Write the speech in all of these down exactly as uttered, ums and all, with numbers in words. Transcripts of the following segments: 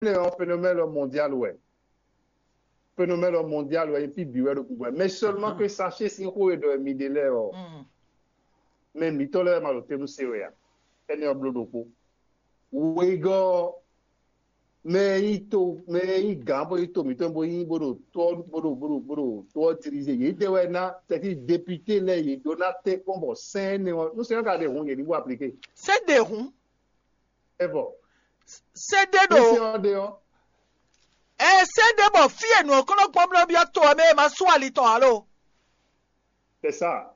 Énɛ́ ɔ́, phénomène mondial wɛ. Phénomène mondial wɛ, fí bǐ wɛ ɖo gǔgbɛ. Mais seulement que sachet sín xó e ɖɔ mi ɖe lɛ́ɛ ɔ́, mɛ mǐtɔn lɛ́ɛ wɛ ma ɖo te nú se wɛ ǎ. Énɛ́ ɔ́ bló ɖokpó. Wegɔ́ ɔ́, mɛ e nyí to mɛ e nyí gǎn bó nyí to mǐtɔn bó nyí bó ɖo tó ɔ́ bó ɖo bó ɖo bó ɖo tó ɔ́ dirize, yědɛɛ wɛ ná, c'est-à-dire député lɛ́ɛ, yě ɖó ná tɛ́nkpɔ́n bɔ sɛ́n énɛ́ ɔ́, nú sɛ́n ɔ́ ka ɖe hǔn, yě ní bó aplike. Sɛ́n ɖe hǔn. É vɔ. Sɛ́n ɖe ɖo. Sɛ́n ɔ́ ɖe ɔ́. Ɛ sɛ́n ɖe bɔ fí e nǔ ɔ́ kɔn nɔ gbɔn blɔ́ byɔ́ to ɔ́ mɛ e ma sú ali tɔn ǎ lo. C'est ça.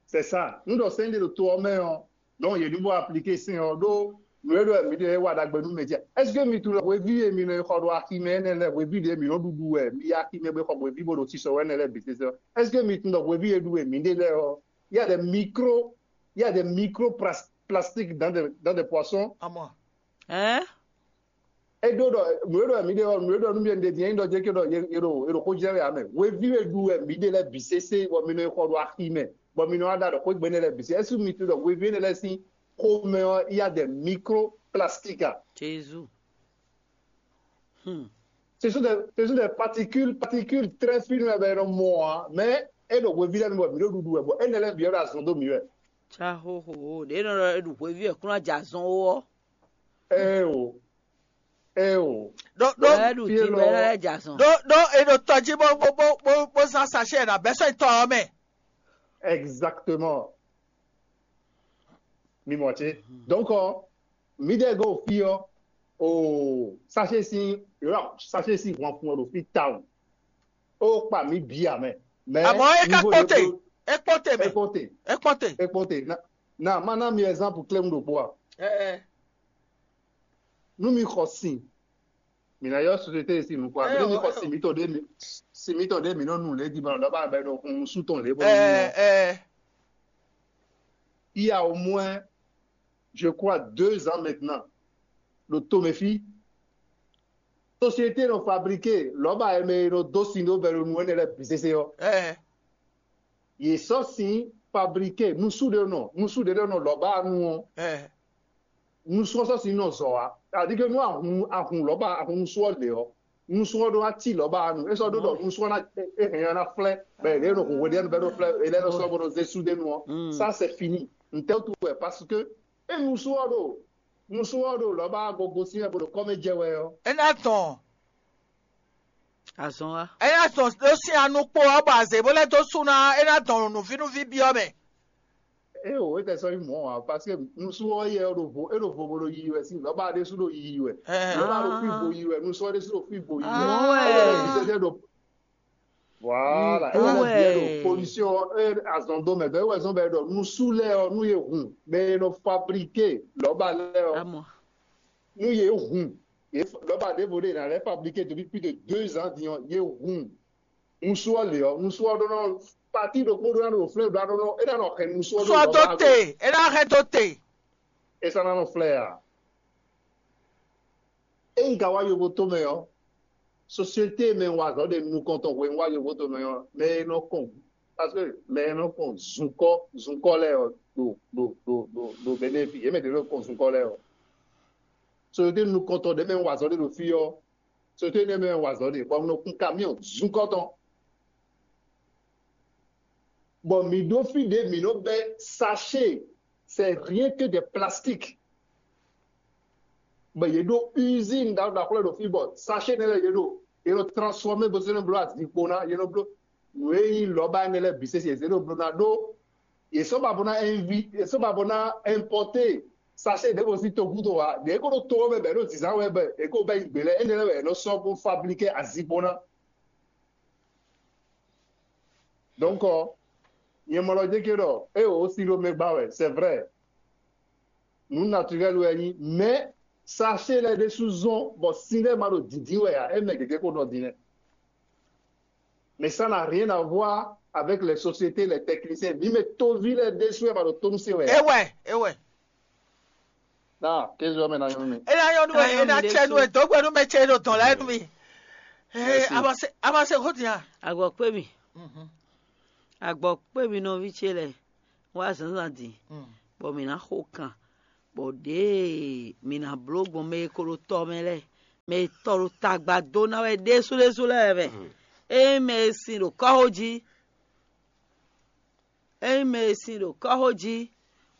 C'est ça. Nú ɖɔ sɛ́n ɖe ɖo to ɔ́ mɛ ɔ́, donc yě ní bó aplike sɛ́n ɔ́ ɖó nǔ e ɖɔ mǐ ɖe wa ɖagbe nú mɛ jí. Est-ce que mi tunwun hweví e mi nɔ yi xɔ ɖo aximɛ énɛ́ lɛ́ɛ, hweví ɖě mi nɔ ɖuɖu wɛ, mi yi aximɛ bó xɔ hweví bó ɖo sisɔ wɛ énɛ́ lɛ́ɛ bǐ sésé ɔ́? Est-ce que mi tunwun ɖɔ hweví e ɖu wɛ mǐ ɖe lɛ́ɛ ɔ́, il y a des micro, il y a des micro plas- plastiques dans des, dans des poissons? Amɔ. Hein? É ɖó ɖɔ nǔ e ɖɔ mǐ ɖe ɔ́, nǔ e ɖɔ nú mì ɖe din é nyí ɖɔ jɛ ké ɖɔ yě ɖo yě ɖo xó jɛ wɛ ame. Hweví e ɖu wɛ mǐ ɖe lɛ́ɛ bǐ sésé bɔ mi nɔ yi xɔ ɖo aximɛ bɔ mi nɔ wá ɖa ɖɔ xwé gbe énɛ́ lɛ́ɛ bǐ sé. Ɛ́sú mi tunwun ɖɔ hweví énɛ́ lɛ́ɛ sín xomɛ ɔ́, il y a des microplastiques a? Jésus. Hmm. Ce sont des, ce sont des particules, particules très fines wɛ bɔ è nɔ mɔ ǎ, mais é ɖo hweví lɛ́ɛ mi bɔ mǐ ɖo ɖuɖu wɛ bɔ énɛ́ lɛ́ɛ bǐ wɛ ɖo azɔn dó mǐ wɛ. Tsa xóxó ɖě nɔ ɖɔ é ɖu hweví wɛ kún ná jɛ azɔn ó ɔ́. Ée o, ée o. Ɖó ɖó É ɖu dín bɔ é ná lɛ́ jɛ azɔn. Ɖó ɖó e ɖo tɔ jí bó bó bó bó bó zán sachet ɛ ná bɛ́ sɔ́ tɔ ɔ́ mɛ. Exactement. Mi mɔ ce. Donc ɔ, mi ɖe go fi ɔ, o sachet si, sachet si hwan fun ɔ ɖo fi tawun. O kpa mi bi amɛ. Mais Àmọ́ é ká niveau kpɔ́te, de- é kpɔ́te mɛ, Écoutez, é kpɔ́te. écoutez, na na ma na mi exemple clé ɖokpó a. Ɛ ɛ. Nú mi xɔ sin, mi na yɔ société si nukɔ a, Eh, nú mi oh, xɔ eh, sin mi tɔn ɖe mi sin mi tɔn ɖe mi nɔ nu lé di ma lɔ ba bɛ ɖo hun su tɔn lé bɔ Ɛ ɛ. Il y a au moins, je crois, deux ans maintenant, ɖo tomɛ fí, société nɔ fabriqué lɔba ɛmɛ e nɔ dó sin ɖó bɛ ɖo nu ɛnɛ lɛ bǐ sese ɔ. Ɛ Yě sɔ́ sin fabriqué nusu ɖé nɔ nusu ɖé nɔ lɔba nu ɔ. ɛ. Nusɔ́sɔ́si nɔ zɔ wá. C'est-à-dire que nú ahun ahun lɔba ahun nusú ɔ́ lě ɔ́, nusú ɔ́ ɖó ná cí lɔba ɔ́ nu. É sɔ́ ɖó ɖɔ nusú ɔ́ ná é hɛn ɔ́ ná flɛ́, bɔ è lɛ́ nɔ hun hweɖénu bɔ é nɔ flɛ́, è lɛ́ nɔ sɔ́ bó nɔ zé sú ɖé nu ɔ́. Ça c'est fini. Ntɛ́ wútu wɛ? Parce que é nusú ɔ́ ɖo nusú ɔ́ ɖo lɔba ɔ́ gogo sín wɛ bó ɖo kɔ́mɛ jɛ wɛ ɔ́. É ná dɔn, Azɔn wa. é ná dɔn ɖó sín anukpo ɔ́ bɔ azě bó lɛ́ dó sú ná, é ná dɔn nǔvínúví byɔ́ mɛ. É o, é tɛ sɔ́ nyí mɔ̌ ǎ, parce que nusú ɔ́ yɛ ɔ́ ɖo vo, é ɖo vo bo ɖo yiyi wɛ sín lɔba ɖésú ɖo yiyi wɛ. Ɛ Lɔba ɖo fí vo yiyi wɛ, nusú ɔ́ ɖésú ɖo fí vo yiyi wɛ. Ah ouais. Ɛyɛ ɖo bize ɖo voilà, Mm, ɛyɛ ouais. ɖo pollution ɔ́, é azɔn dó mɛ, bɛ́ wɛ zɔn bɛ ɖɔ nusú lɛ ɔ́, nú yé hun, bɛ yé nɔ fabriqué lɔba lɛ ɔ́, Amɔ. nú yé hun, yé f- lɔba ɖěvo ɖé ná lɛ fabriqué depuis plus de deux ans din ɔ́, yé hun. Nusú ɔ́ lě ɔ́, nusú ɔ́ ɖó nɔ pati ɖokpó ɖó ná ɖo flɛ́ ɖó ná ɖó nɔ, é ná nɔ hɛn nusú ɔ́ ɖo Sɔ dó lɔba te, é ná hɛn dó te. É sɔ́ ná nɔ flɛ́ ǎ. Ényí ka wá yovo tó mɛ ɔ́, société mɛ wa azɔ̌ ɖe nukɔn tɔn hwenu wá yovo tó mɛ ɔ́, mɛ e nɔ kɔn, parce que mɛ e nɔ kɔn zunkɔ zunkɔ lɛ́ɛ ɔ́ ɖo ɖo ɖo ɖo ɖo Benin fí, yě mɛ ɖě nɔ kɔn zunkɔ lɛ́ɛ ɔ́. Société nukɔntɔn ɖě mɛ wa azɔ̌ ɖe ɖo fí ɔ́, société nɛ mɛ wa azɔ̌ ɖe, bɔ un nɔ kún kamiɔn zunkɔ tɔn. Bon, mi ɖó fí ɖě mi nɔ bɛ́ sachet, c'est rien que des plastiques. Bon, yě ɖo usine ɖaxó ɖaxó lɛ́ɛ ɖo fí, bɔ sachet nɛ lɛ́ɛ yě ɖo yě nɔ transformer bó zé nɔ bló azikpo ná, yě nɔ bló nǔ e nyí lɔba énɛ́ lɛ́ɛ bǐ sésé yě zé nɔ bló ná ɖó yě sɔ́ ba bó ná invi yě sɔ́ ba bó ná importer sachet ɖěvo sín togúdo wá, ɖě ko ɖo to ɔ́ mɛ bɔ yě ɖo zǐnzán wɛ bɔ yě ko bɛ́ yi gbě lɛ́ɛ, énɛ́ lɛ́ɛ wɛ yě nɔ sɔ́ bó fabriquer azikpo ná. Donc ɔ, nyɛ mɔ lɔ jɛ ké ɖɔ é o si ɖo mɛ gba wɛ, c'est vrai. Nǔ naturel wɛ nyí, mais sachet lɛ́ɛ ɖésú zɔn bɔ sin lɛ́ɛ ma ɖo dǐndín wɛ ǎ, é mɛ gěgé ko nɔ din lɛ́ɛ. Mais ça n'a rien à voir avec les sociétés, les techniciens. Mi mɛ toví lɛ́ɛ ɖésú wɛ ma ɖo tónú se wɛ ǎ. É wɛ, é wɛ. Ná kézu ɔ́ mɛ ná nyɔ́ mi. É ná nyɔ́ nú ɛ, é ná tsɛ nú ɛ, dǒgbɛ nú mɛ ce ɖo dɔn lɛ́ɛ nú mi. Ee, Merci. Amase Amase xó din a? Agbɔkpé mi. Agbɔkpé mi nɔví ce lɛ́ɛ wá zǎnzǎn din, bɔ mǐ ná xo kan, bɔ ɖěe mǐ ná bló gbɔn mɛ e ko ɖo tɔ mɛ lɛ́ɛ, mɛ e tɔ ɖo tagba dó ná wɛ ɖésúɖésú lɛ́ɛ mɛ. Ényí mɛ e sin ɖo kɔ́xo jí, ényí mɛ e sin ɖo kɔ́xo jí,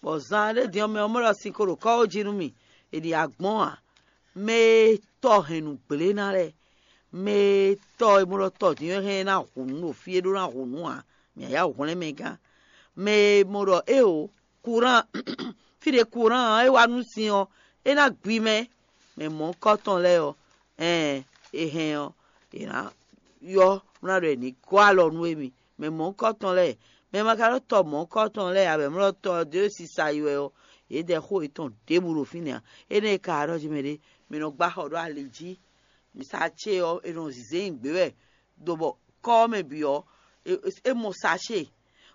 bɔ zan ɖé din ɔ́, mɛ ɔ́ mɔ ɖɔ sin ko ɖo kɔ́xo jí nú mì, è ɖi agbɔ́n ǎ. Mɛ e tɔ hɛn nǔ gblé ná lɛ́ɛ, mɛ e tɔ e mɔ ɖɔ tɔ din ɔ́ hɛn ná hu nǔ ɖo fí é ɖó ná hu nǔ ǎ, mǐ yá hwlɛ́n mɛ gán. Mɛ e mɔ ɖɔ éeǒ, kurán fí ɖě kurán ɔ́ é wá nú sin ɔ́, é ná gbi mɛ. Mɛ mɔ̌hunkɔtɔn lɛ́ɛ ɔ́, ɛɛn è hɛn ɔ́, è nǎ ylɔ́ bó ná ɖɔ è nǐ gɔ́ alɔ nú émí. Mɛ mɔ̌hunkɔtɔn lɛ́ɛ, mɛ ma ka ɖó tɔ mɔ̌hunkɔtɔn lɛ́ɛ ǎ, bɔ è mlɔ́ tɔ ɔ́ dó sisa yi wɛ ɔ́, yědɛɛ xó yětɔn ɖěbǔ ɖo fínɛ́ ǎ. Énɛ́ e ka ɖɔ jí mɛ ɖé, mi nɔ gbá xɔ ɖó ali jí. Mǐ sa ce ɔ́, è nɔ zǐzé nyi gbě wɛ, ɖo bɔ kɔ́ ɔ́ mɛ bǐ ɔ́, é mɔ sacée,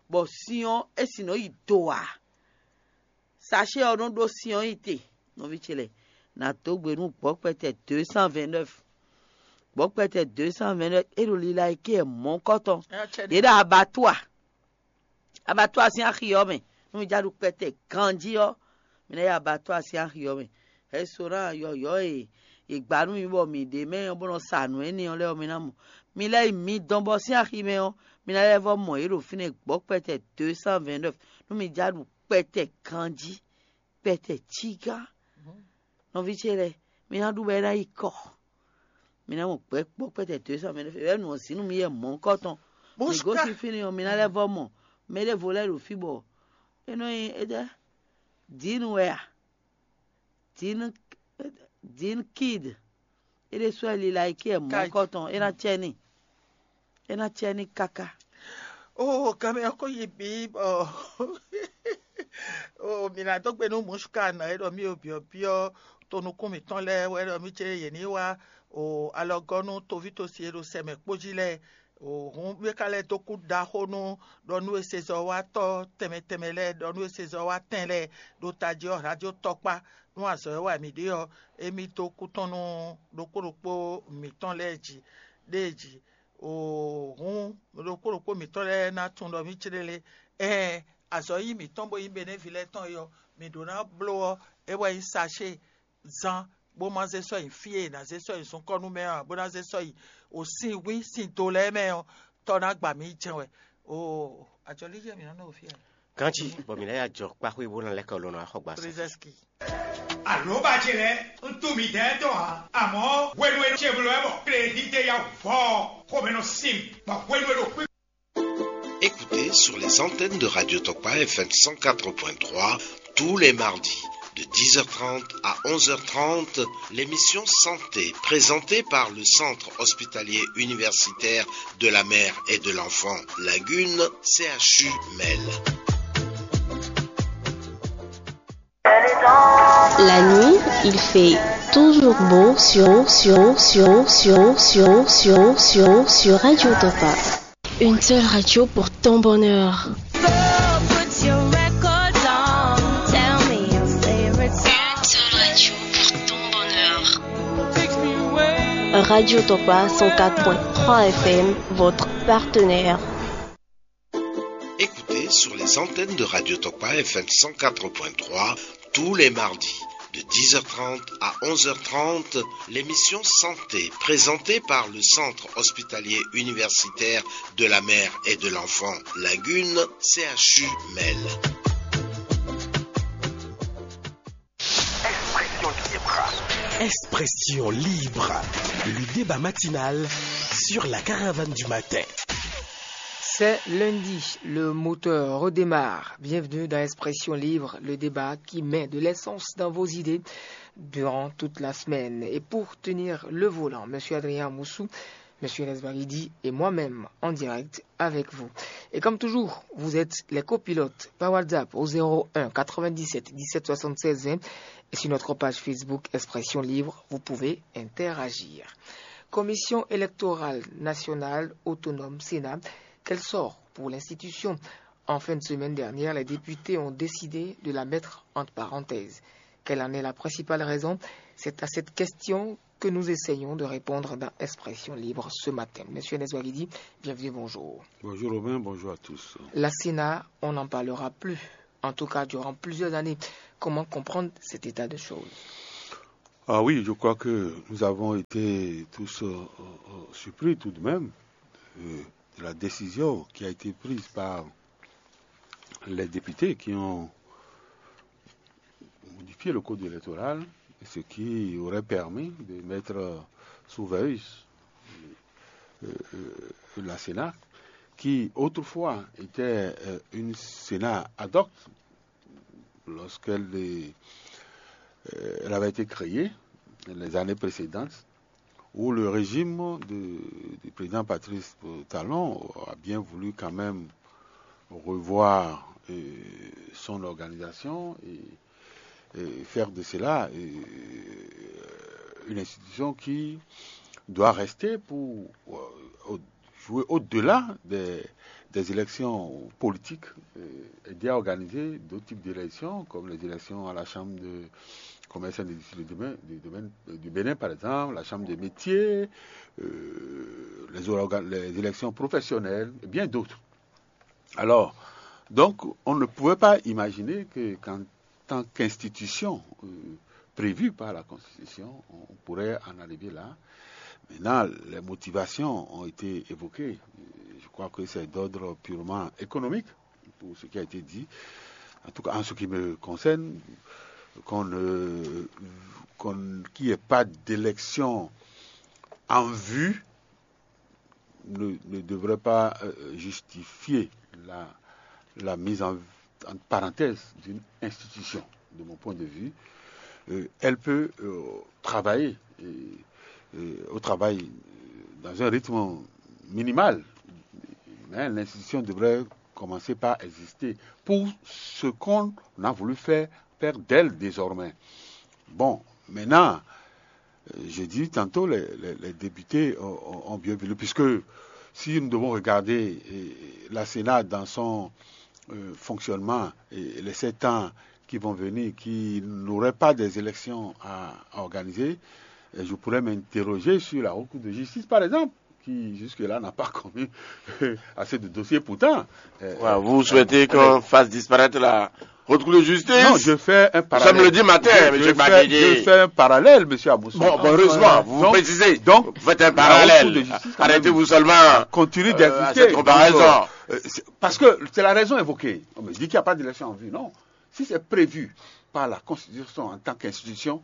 bɔ sin ɔ́, é sin nɔ yi do ǎ. Sacée ɔ́ nɔ ɖó sin ɔ́ nyi te, nɔví ce lɛ́ɛ, nǎ dó gbe nú gbɔ̌kpɛtɛ deux cent vingt-neuf. Gbɔ̌kpɛtɛ deux cent vingt-neuf é ɖo lila e ké mɔ̌kɔtɔn. Yě ɖo abattoir. Abattoir sín axi ɔ́ mɛ, nú mi já ɖu kpɛtɛ ganjí ɔ́, mi ná yi abattoir sín axi ɔ́ mɛ. Restaurant yɔ̌yɔ́ e è gbǎ nú mi bɔ mǐ ɖe mɛ ɔ́ bó nɔ sa nǔ énɛ́ ɔ́ lɛ́ɛ ɔ́, mi ná mɔ. Mi lɛ́ yi mi dɔn bɔ sín axi mɛ ɔ́, mi ná lɛ́ vɔ́ mɔ yě ɖo fínɛ́ gbɔ̌kpɛtɛ deux cent vingt-neuf, nú mi já ɖu kpɛtɛ ganjí, kpɛtɛ cígán. Nɔví ce lɛ́ɛ, mi ná ɖu bɔ é ná yi kɔ. Mi ná mɔ gbɛ̌ kpɔ́ kpɛ́tɛ deux cent vingt-neuf, é wɛ nǔ ɔ́ zǐn nú mi yɛ mɔ̌hunkɔtɔn. Mi gosín fínɛ́ ɔ́, mi ná lɛ́ vɔ́ mɔ mɛ ɖěvo lɛ́ɛ ɖo fí bɔ é nɔ nyi étɛ́, Dǐn wɛ a? Dǐn, Dǐn Kid. É ɖésú wɛ lila yi kí ɛ mɔ̌hunkɔtɔn, é ná cɛ n'i. É ná cɛ n'i káká. Oo, kanmɛ ɔ́ ko yi bǐ bɔ oo, mǐ ná dó gbe nú Musuka nɔ e ɖɔ mì o byɔ̌byɔ́ to nukún mǐtɔn lɛ́ɛ wɛ ɖɔ mì ce yě ní wá o alɔgɔ́ nú toví tosi e ɖo sɛ mɛ kpó jí lɛ́ɛ. O hǔn mì ka lɛ́ dó kú ɖaxó nú ɖɔ nú e sezɔ́watɔ́ tɛnmɛ tɛnmɛ lɛ́ɛ, ɖɔ nú e sezɔ́watɛn lɛ́ɛ ɖo tají ɔ́, radio tɔkpá nú azɔ̌ e wa mǐ ɖe ɔ́, émí dó kú tɔn nú ɖokpó ɖokpó mǐtɔn lɛ́ɛ jí ɖée jí. O hǔn ɖokpó ɖokpó mǐtɔn lɛ́ɛ ná tunwun ɖɔ mǐ céɖélé. Ɛɛn, azɔ̌ nyí mǐtɔn bó nyí Benɛ́vi lɛ́ɛ tɔn é ɔ́, mǐ ɖó ná bló ɔ́, é wɛ nyí sacée zán, bó má zé sɔ́ nyi fí e è nǎ zé sɔ́ nyi zunkɔ́ nú mɛ ɔ́ ǎ, bó ná zé sɔ́ nyi o sin wín sin do lɛ́ɛ mɛ ɔ́, tɔ́ ná gba mǐ jɛ́n wɛ. Oo, ajɔlíjɛ mǐ nɔ nɔ fí ɛ. Ganjí bɔ mǐ ná yi ajɔ kpáxwé bó ná lɛ́ kɔ lɔ nɔ axɔgba sɛ. Trezɛski. Àlóbá ce lɛ́ɛ, un tunwun midɛɛ tɔn ǎ, amɔ̌ hwenu e ce bló wɛ bɔ klédídé ya vɔ ɔ́, xomɛ nɔ sin mì, bɔ hwenu e ɖo kpí. Écoutez sur les antennes de Radio Tokpa F M cent quatre point trois tous les mardis de dix heures trente à onze heures trente l'émission Santé présentée par le Centre hospitalier universitaire de la mère et de l'enfant Lagune, C H U Mel. La nuit, il fait toujours beau sur, sur, sur, sur, sur, sur, sur Radio Topa. Une seule radio pour ton bonheur. Une seule radio pour ton bonheur. Radio Topa cent quatre point trois F M, votre partenaire. Écoutez sur les antennes de Radio Tokpa F M cent quatre point trois tous les mardis de dix heures trente à onze heures trente l'émission Santé présentée par le Centre hospitalier universitaire de la mère et de l'enfant Lagune, C H U Mel. Expression libre, le débat matinal sur la caravane du matin. C'est lundi, le moteur redémarre. Bienvenue dans Expression Libre, le débat qui met de l'essence dans vos idées durant toute la semaine. Et pour tenir le volant, Monsieur Adrien Moussou, Monsieur Nesbaridi et moi-même en direct avec vous. Et comme toujours, vous êtes les copilotes par WhatsApp au zéro un quatre-vingt-dix-sept dix-sept soixante-seize vingt et sur notre page Facebook Expression Libre, vous pouvez interagir. Commission électorale nationale autonome Sénat, quel sort pour l'institution ? En fin de semaine dernière, les députés ont décidé de la mettre entre parenthèses. Quelle en est la principale raison ? C'est à cette question que nous essayons de répondre dans Expression Libre ce matin. Monsieur Neswagidi, bienvenue, bonjour. Bonjour Robin, bonjour à tous. La Sénat, on n'en parlera plus, en tout cas durant plusieurs années. Comment comprendre cet état de choses ? Ah oui, je crois que nous avons été tous euh, euh, surpris tout de même euh, de la décision qui a été prise par les députés qui ont modifié le code électoral, ce qui aurait permis de mettre sous veille euh, euh, la Sénat, qui autrefois était euh, une Sénat ad hoc, lorsqu'elle est- euh, elle avait été créée les années précédentes, où le régime de- du président Patrice Talon a bien voulu quand même revoir euh, son organisation et, et faire de cela euh, une institution qui doit rester pour euh, au- jouer au-delà des, des élections politiques euh, et d'y organiser d'autres types d'élections, comme les élections à la Chambre de commerce et d'industrie de Bénin, de- de Bénin- du Bénin, par exemple, la Chambre des métiers, euh, les, orga- les élections professionnelles et bien d'autres. Alors, donc, on ne pouvait pas imaginer que, qu'en tant qu'institution euh, prévue par la Constitution, on pourrait en arriver là. Maintenant, les motivations ont été évoquées. Je crois que c'est d'ordre purement économique pour ce qui a été dit. En tout cas, en ce qui me concerne, qu'on ne- qu'on- qu'il n'y ait pas d'élection en vue ne, ne devrait pas euh, justifier la, la mise en, en parenthèse d'une institution, de mon point de vue. Euh, elle peut euh, travailler euh, euh, au travail euh, dans un rythme minimal, mais l'institution devrait commencer par exister pour ce qu'on a voulu faire, faire d'elle désormais. Bon, maintenant, euh, j'ai dit tantôt, les, les- les députés ont, ont- ont bien voulu, puisque si nous devons regarder euh, la Sénat dans son euh, fonctionnement et les sept ans qui vont venir, qui n'auraient pas des élections à, à organiser, euh, je pourrais m'interroger sur la Haute Cour de justice, par exemple, qui jusque-là n'a pas commis assez de dossiers. Pourtant, euh, Voilà, vous souhaitez qu'on fasse disparaître la Haute Cour de justice? Non, je fais un Nous parallèle. sommes le dix matin, Je- monsieur je fais, Gbagidi. Je fais un parallèle, monsieur Aboussou. Bon, bon, heureusement, vous Donc, précisez. donc, Vous faites un la Haute Cour de parallèle. justice, quand Arrêtez-vous même, seulement continue euh, d'exister. à cette Donc, comparaison. euh, euh, c'est- parce que c'est la raison évoquée. On me dit qu'il n'y a pas d'élection en vue. Non. Si c'est prévu par la Constitution en tant qu'institution,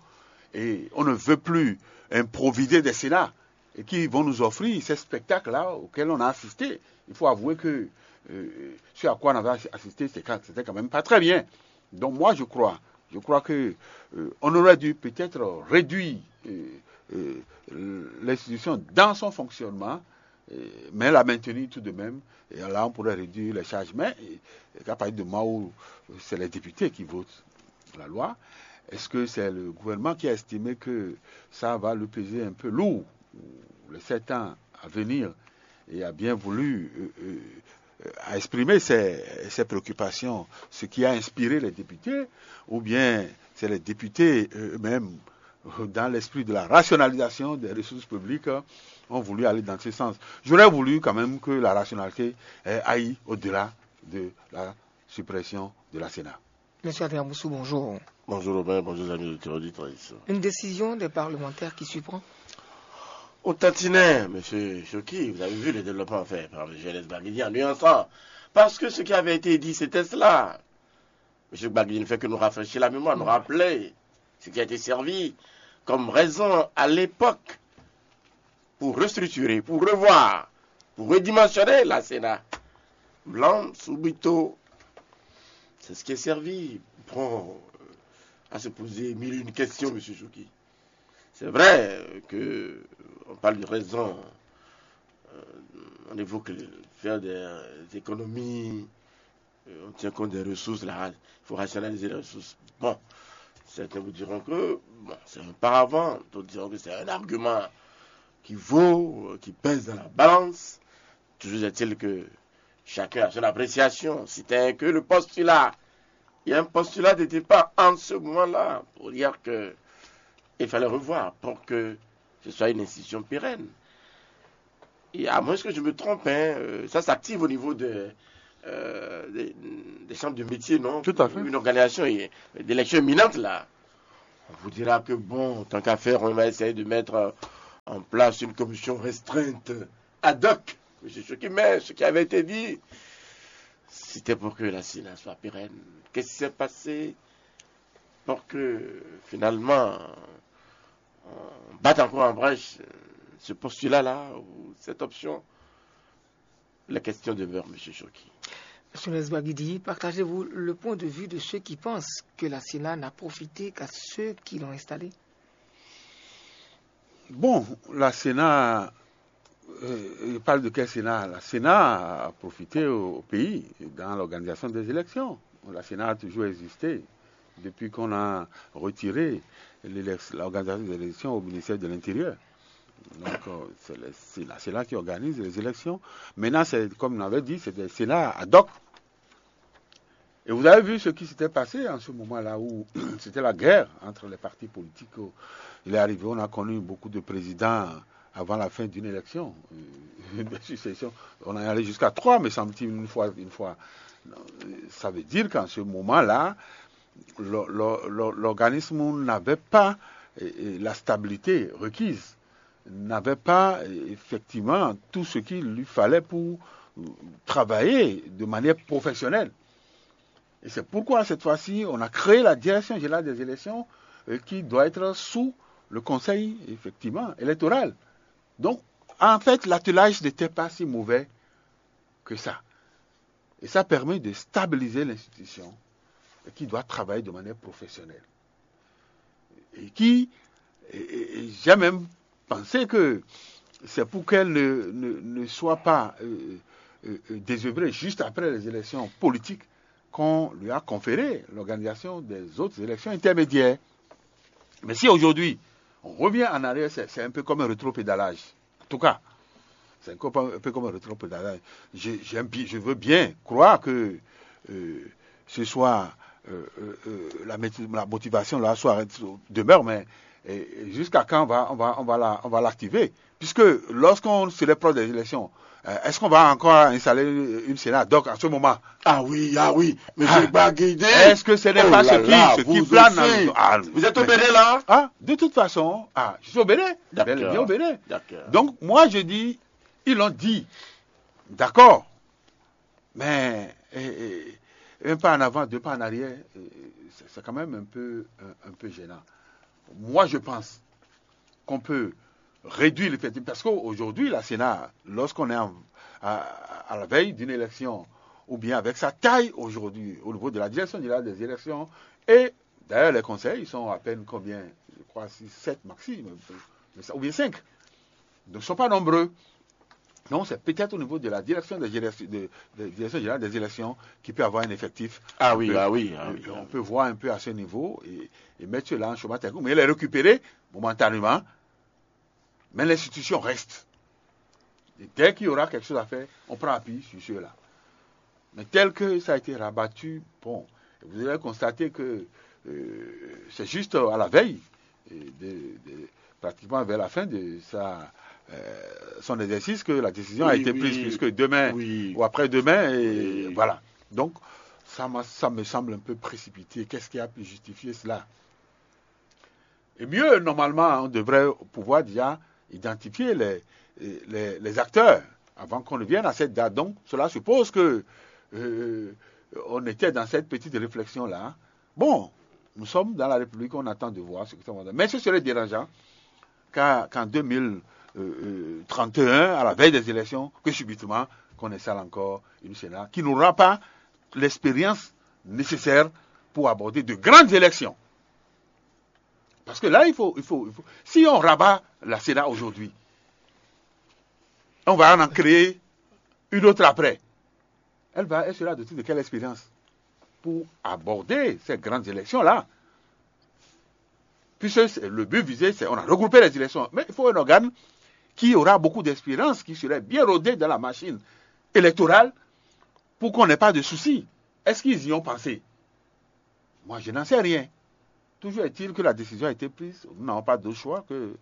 et on ne veut plus improviser des Sénats et qui vont nous offrir ces spectacles-là auxquels on a assisté. Il faut avouer que euh, ce à quoi on avait assisté, c'est quand- c'était quand même pas très bien. Donc moi, je crois, je crois que euh, on aurait dû peut-être réduire euh, euh, l'institution dans son fonctionnement, euh, mais la maintenir tout de même. Et là, on pourrait réduire les charges. Mais euh, à partir du moment où euh, c'est les députés qui votent la loi, est-ce que c'est le gouvernement qui a estimé que ça va lui peser un peu lourd les sept ans à venir et a bien voulu euh, euh, euh, a exprimé ses, ses préoccupations, ce qui a inspiré les députés, ou bien c'est les députés eux-mêmes, euh, dans l'esprit de la rationalisation des ressources publiques, euh, ont voulu aller dans ce sens. J'aurais voulu quand même que la rationalité euh, aille au-delà de la suppression de la Sénat. Monsieur Adrien Boussou, bonjour. Bonjour Robin, bonjour les amis auditeurs auditrices. Une décision des parlementaires qui surprend. Au tantinet, monsieur Choki, vous avez vu les développements faits par le G L S Gbagidi en nuançant. Parce que ce qui avait été dit, c'était cela. Monsieur Gbagidi ne fait que nous rafraîchir la mémoire, nous rappeler ce qui a été servi comme raison à l'époque pour restructurer, pour revoir, pour redimensionner la Sénat. Blanc, subito, c'est ce qui est servi. Bon, euh, à se poser mille et une questions, monsieur Choki. C'est vrai euh, que on parle de raison. Euh, on évoque le- faire des, des économies. Euh, on tient compte des ressources. Là, il faut rationaliser les ressources. Bon, certains vous diront que bon, c'est un paravent. D'autres diront que c'est un argument qui vaut, euh, qui pèse dans la balance. Toujours est-il que chacun a son appréciation. Si tel est que le postulat, il y a un postulat de départ en ce moment-là pour dire que il fallait revoir pour que ce soit une institution pérenne. Et à moins que je me trompe, hein, euh, ça s'active au niveau de, euh, des, des chambres de métiers, non? Tout à fait. Une organisation euh, d'élection imminente, là. On vous dira que, bon, tant qu'à faire, on va essayer de mettre euh, en place une commission restreinte ad hoc. Monsieur Choki, mais ce qui avait été dit, c'était pour que la CENA soit pérenne. Qu'est-ce qui s'est passé pour que finalement on batte encore en brèche euh, ce postulat-là ou cette option? La question demeure, Monsieur Choki. Monsieur Nesbagidi, partagez-vous le point de vue de ceux qui pensent que la CENA n'a profité qu'à ceux qui l'ont installée? Bon, la CENA, euh, il parle de quel CENA? La CENA a profité au, au pays dans l'organisation des élections. La CENA a toujours existé depuis qu'on a retiré l'élec- l'organisation des élections au ministère de l'Intérieur. Donc, euh, c'est le- c'est la CENA qui organise les élections. Maintenant, c'est, comme on avait dit, c'est des CENA ad hoc. Et vous avez vu ce qui s'était passé en ce moment-là où c'était la guerre entre les partis politiques. Il est arrivé, on a connu beaucoup de présidents avant la fin d'une élection, euh, de succession. On est allé jusqu'à trois, me semble-t-il, une fois, une fois. Ça veut dire qu'en ce moment-là, le- le- le- l'organisme n'avait pas euh, euh, la stabilité requise, n'avait pas euh, effectivement tout ce qu'il lui fallait pour euh, travailler de manière professionnelle. Et c'est pourquoi cette fois-ci, on a créé la Direction générale des élections euh, qui doit être sous le Conseil, effectivement, électoral. Donc, en fait, l'attelage n'était pas si mauvais que ça. Et ça permet de stabiliser l'institution et qui doit travailler de manière professionnelle. Et qui, et- et- et j'ai même pensé que c'est pour qu'elle ne, ne- ne soit pas euh, euh, euh, désœuvrée juste après les élections politiques qu'on lui a conféré l'organisation des autres élections intermédiaires. Mais si aujourd'hui, on revient en arrière, c'est c'est un peu comme un rétropédalage. En tout cas, c'est un peu un peu comme un rétropédalage. Je, j'aime bi- je veux bien croire que euh, ce soit euh, euh, euh, la, moti- la motivation là soit demeure, mais et- et jusqu'à quand on va, on va, on va la- on va l'activer? Puisque lorsqu'on se rapproche des élections, euh, est-ce qu'on va encore installer une CENA? Donc, en ce moment, Ah oui, ah oui, monsieur Baguidé. Est-ce que ce n'est Oh pas là ce qui, là, ce qui vous plane aussi. dans- Ah, Vous êtes au mais- Bénin là? Ah, de toute façon, ah, je suis au Bénin. D'accord. Bel et bien au Bénin. D'accord. Donc, moi, je dis, ils l'ont dit. D'accord. Mais eh, eh, un pas en avant, deux pas en arrière, eh, c'est c'est quand même un peu, un, un peu gênant. Moi, je pense qu'on peut réduire l'effectif. Parce qu'aujourd'hui, la CENA, lorsqu'on est en- à, à la veille d'une élection, ou bien avec sa taille aujourd'hui, au niveau de la direction générale des élections, et d'ailleurs, les conseils, ils sont à peine combien? Je crois six, sept maxi, mais- mais ça- ou bien cinq. Donc, ils ne sont pas nombreux. Donc, c'est peut-être au niveau de la direction, des élections- de, de- direction générale des élections qui peut avoir un effectif. Ah On oui, peut- ah oui, ah oui. euh, On peut voir un peu à ce niveau et, et mettre cela en chemin technique. Mais il est récupéré momentanément. Mais l'institution reste. Et dès qu'il y aura quelque chose à faire, on prend appui sur ceux-là. Mais tel que ça a été rabattu, bon, vous allez constater que euh, c'est juste à la veille, et de- de- pratiquement vers la fin de sa, euh, son exercice, que la décision a Oui, été oui. Prise, puisque demain Oui. ou après-demain, et Oui. Voilà. Donc, ça, m'a- ça me semble un peu précipité. Qu'est-ce qui a pu justifier cela? Et mieux, normalement, on devrait pouvoir déjà identifier les, les, les acteurs avant qu'on ne vienne à cette date. Donc, cela suppose que euh, on était dans cette petite réflexion-là. Bon, nous sommes dans la République, on attend de voir ce que ça va donner. Mais ce serait dérangeant qu'à- qu'en deux mille trente et un, à la veille des élections, que subitement, qu'on installe encore une CENA qui n'aura pas l'expérience nécessaire pour aborder de grandes élections. Parce que là, il faut, il faut, il faut- si on rabat la CENA aujourd'hui, on va en créer une autre après. Elle va, elle sera dotée de quelle expérience pour aborder ces grandes élections-là? Puisque c'est- le but visé, c'est on a regroupé les élections. Mais il faut un organe qui aura beaucoup d'expérience, qui serait bien rodé dans la machine électorale pour qu'on n'ait pas de soucis. Est-ce qu'ils y ont pensé? Moi, je n'en sais rien. Toujours est-il que la décision a été prise. Nous n'avons pas d'autre choix que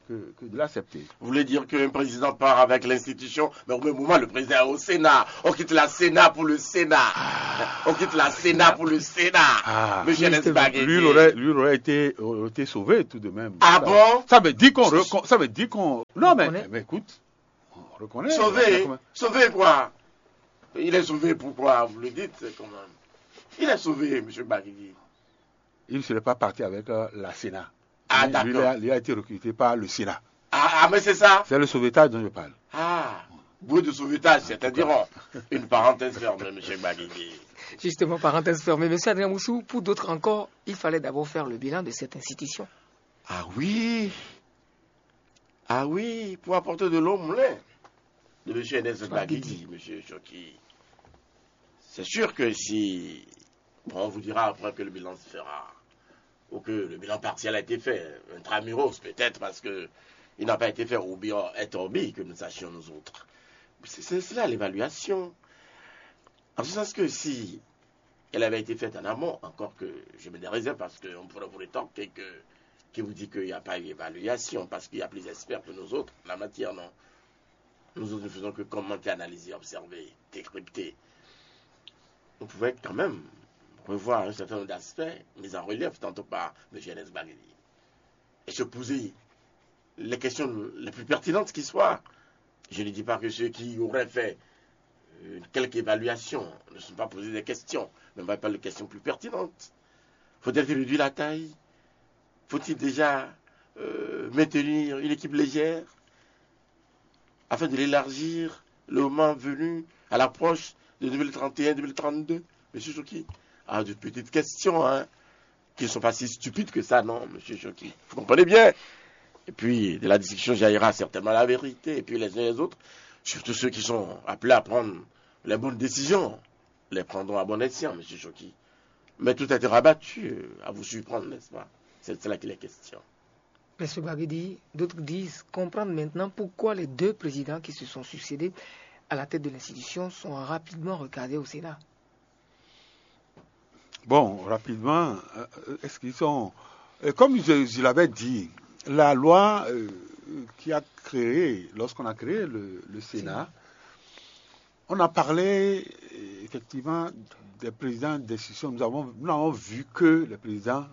que, que de l'accepter. Vous voulez dire qu'un président part avec l'institution, mais au même moment, le président est au Sénat. On quitte la Sénat pour le Sénat. On quitte la Sénat pour le Sénat. Ah, Monsieur Nesbagé. Lui, il aurait, lui aurait été, aurait été sauvé tout de même. Ah bon? Ça veut dire qu'on... Ça veut dire qu'on... Non, mais, mais écoute, on reconnaît. Sauvé? Sauvé quoi? Il est sauvé pourquoi? Vous le dites quand même. Il est sauvé, Monsieur Baguigui. Il ne serait pas parti avec euh, la Sénat. Ah, lui, lui, d'accord. Lui a, lui a été recruté par le Sénat. Ah, ah, mais c'est ça. C'est le sauvetage dont je parle. Ah, bruit de sauvetage, c'est-à-dire euh, une parenthèse fermée, Monsieur Baguigui. Justement, parenthèse fermée. Monsieur Adrien Moussou, pour d'autres encore, il fallait d'abord faire le bilan de cette institution. Ah oui. Ah oui, pour apporter de l'eau au moulin de Monsieur Ernest Baguigui, Monsieur Choki. C'est sûr que si, bon, on vous dira après que le bilan se fera, ou que le bilan partiel a été fait, intramuros peut-être, parce que il n'a pas été fait au bien et au bien que nous sachions nous autres. C'est cela l'évaluation. En ce sens que si elle avait été faite en amont, encore que je me des réserves parce qu'on pourrait vous rétorquer que qui vous dit qu'il n'y a pas eu évaluation, parce qu'il y a plus d'experts que nous autres en la matière, non. Nous autres ne faisons que commenter, analyser, observer, décrypter. On pouvait quand même revoir un certain nombre d'aspects mis en relief tantôt par M. Ernest Baguigui et se poser les questions les plus pertinentes qui soient. Je ne dis pas que ceux qui auraient fait euh, quelque évaluation ne sont pas posés des questions, mais on va parler de questions plus pertinentes. Faut-il réduire la taille? Faut-il déjà euh, maintenir une équipe légère afin de l'élargir le moment venu à l'approche de deux mille trente et un, deux mille trente-deux? Monsieur Choki, ah, de petites questions, hein, qui ne sont pas si stupides que ça, non, Monsieur Choki. Vous comprenez bien. Et puis, de la discussion jaillira certainement la vérité. Et puis, les uns et les autres, surtout ceux qui sont appelés à prendre les bonnes décisions, les prendront à bon escient, Monsieur Choki. Mais tout a été rabattu euh, à vous surprendre, n'est-ce pas? C'est de cela qu'il est question. Monsieur Baguigui, d'autres disent comprendre maintenant pourquoi les deux présidents qui se sont succédés à la tête de l'institution sont rapidement recadrés au Sénat. Bon, rapidement, euh, est-ce qu'ils sont... euh, comme je, je l'avais dit, la loi euh, qui a créé, lorsqu'on a créé le, le Sénat, on a parlé euh, effectivement des présidents d'institutions. Nous avons, nous n'avons vu que les présidents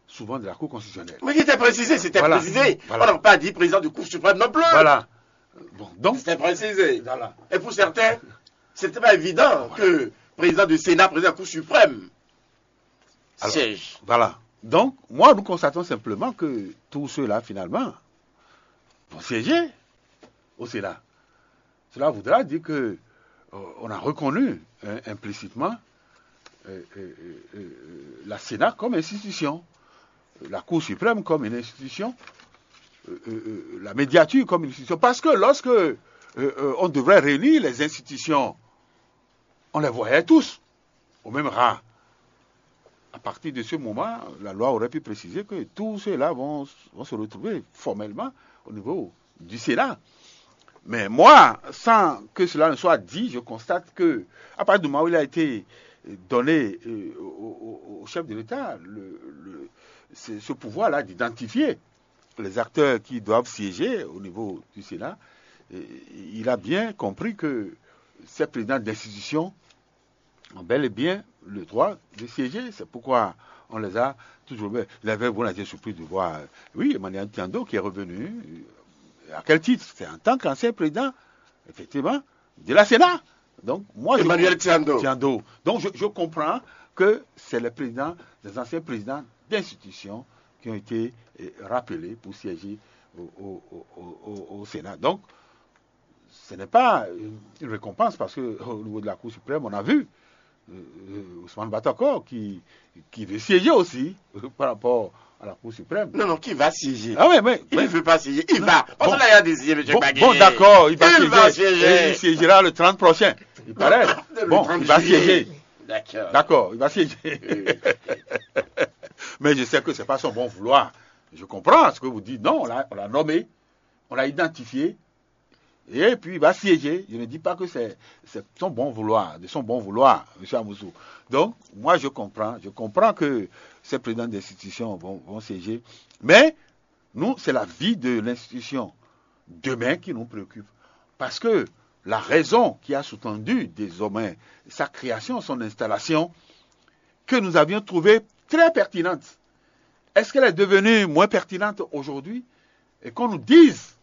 souvent de la Cour constitutionnelle. Mais il était précisé, c'était voilà. Précisé. Voilà. On n'a pas dit président du Cour suprême non plus. Voilà. Bon, donc, c'était précisé. Voilà. Et pour certains, c'était pas évident voilà. Que président du Sénat, président de la Cour suprême, alors, siège. Voilà. Donc, moi, nous constatons simplement que tous ceux-là, finalement, vont siéger au Sénat. Cela voudra dire que euh, on a reconnu hein, implicitement euh, euh, la Sénat comme institution, la Cour suprême comme une institution, la médiature comme une institution. Parce que lorsque on devrait réunir les institutions, on les voyait tous au même rang. À partir de ce moment, la loi aurait pu préciser que tous ceux-là vont, vont se retrouver formellement au niveau du Sénat. Mais moi, sans que cela ne soit dit, je constate que, à partir du moment où il a été donné euh, au, au, au, chef de l'État le, le, ce, ce pouvoir-là d'identifier les acteurs qui doivent siéger au niveau du Sénat, euh, il a bien compris que ces présidents d'institutions ont bel et bien le droit de siéger. C'est pourquoi on les a toujours. Vous avez, vous avez été surpris de voir, euh, oui, Emmanuel Tiando qui est revenu. Euh, à quel titre? C'est en tant qu'ancien président, effectivement, de la Sénat. Donc, moi, Emmanuel je, Tiando. Tiando. Donc, je, je comprends que c'est les présidents, des anciens présidents d'institutions qui ont été euh, rappelés pour siéger au, au, au, au Sénat. Donc, ce n'est pas une, une récompense parce qu'au niveau de la Cour suprême, on a vu euh, Ousmane Batakor qui, qui veut siéger aussi euh, par rapport à la Cour suprême. Non, non, qui va siéger? Ah oui, mais il ne veut pas siéger. Il non, va. Parce bon, que là, il a désigné M. Bon, bon d'accord, il va il siéger. Va siéger. Et il siégera le trente prochain. Il paraît. Bon, il va siéger. D'accord. D'accord, il va siéger. Mais je sais que ce n'est pas son bon vouloir. Je comprends ce que vous dites. Non, on l'a nommé, on l'a identifié. Et puis il va siéger. Je ne dis pas que c'est son bon vouloir, de son bon vouloir, M. Amoussou. Donc, moi je comprends, je comprends que ces présidents d'institutions vont, vont siéger, mais Nous, c'est la vie de l'institution demain qui nous préoccupe. Parce que la raison qui a sous-tendu désormais sa création, son installation, que nous avions trouvée très pertinente, est-ce qu'elle est devenue moins pertinente aujourd'hui? Et qu'on nous dise